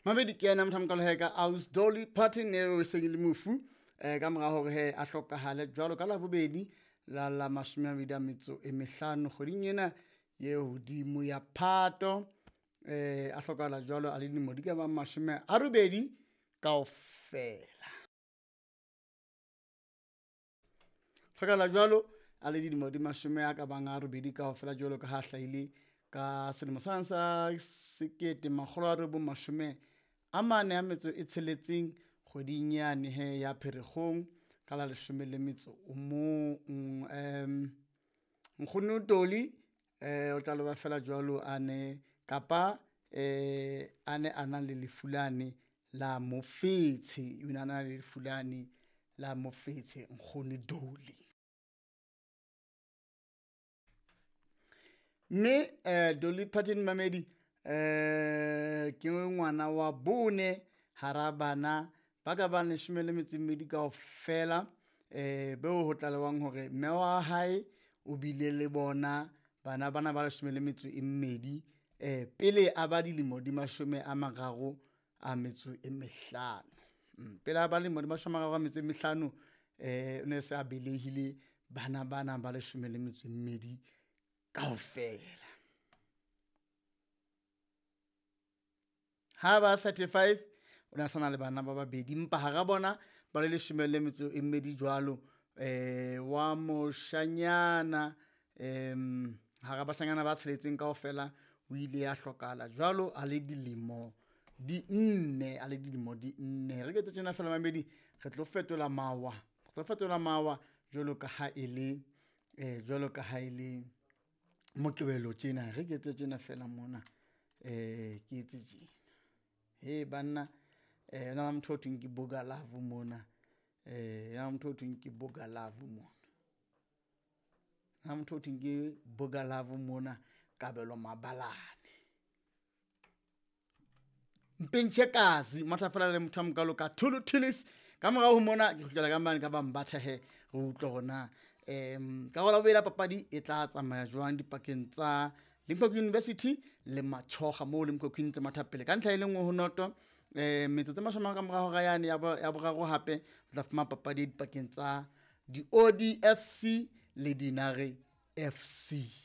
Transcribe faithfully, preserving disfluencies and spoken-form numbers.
Mamedi ke yena motho a mokalo he ka Aus Dolly Parton eo e seng e le mofu eh ka mora hore he a hlokahale jwalo ka Labobedi la la mashome a mabedi a metso e mehlano kgweding ena ye hodimo ya Phato. Eh a hlokahala jwalo a le dilemo di ka bang mashome a robedi kaofela. Hlokahala jwalo a le dilemo di mashome a ka bang a robedi kaofela jwalo ka ha hlahile ka selemo sane sa sekete makgolo a robong mashome a mane a metso e tsheletseng kgweding yane he ya Pherekgong ka la leshome le metso o mong. Um nkgono Dolly eh o tla loba fela jwalo a ne kapa eh a ne a na le lefu lane la mofetshe, o ne a na le lefu lane la mofetshe nkgono Dolly. Mme eh Dolly Parton mamedi eh ke ngwana wa bone hara bana ba ka bang leshome le metso e mmedi kaofela, eh beo ho tlalewang hore mme wa hae o bile le bona bana bana ba leshome le metso e mmedi eh pele a ba dilemo di mashome a mararo a metso e mehlano. Mm, pele a ba lemo di mashome a mararo a metso e mehlano eh o ne se a belehile bana bana ba leshome le metso e mmedi kaofela. Ha ba thirty-five o ne a sana le bana ba babedi, empa hara bona ba le leshome le metso e mmedi jwalo eh wa moshanyana em hara bashanyana ba tsheletseng kaofela o ile a hlokahala jwalo a le dilemo di nne, a le dilemo di nne. Re ke tjena fela mamedi re tlo fetola mawa, re tlo fetola mawa jwalo ka ha e le eh jwalo ka ha e le Moqebelo tjena. Re ke etse tjena fela mona eh ke etse tjena. He banna eh na motho o thweng ke Boga Love mona, eh na motho o thweng ke Boga Love mona. Na motho o thweng ke Boga Love mona Kabelo Mabalane. Mpentjhe kazi matha fela le motho a mokalo ka Thulu Thillis. Ka morao ho mona ke kgutlela ka mane ka ba Mbatha he re utlwe hore na em karolo ya bobedi ya papadi e tla tsamaya jwang dipakeng tsa Limpopo University le Machoga, moo Limpopo ntse matha pele ka ntlha e le nngwe ho noto. Eh metsotso e mashome a ka morao hora yane ya bo-, ya boraro hape o tla fumana papadi e dipakeng tsa di-O D F C le Dinare F C.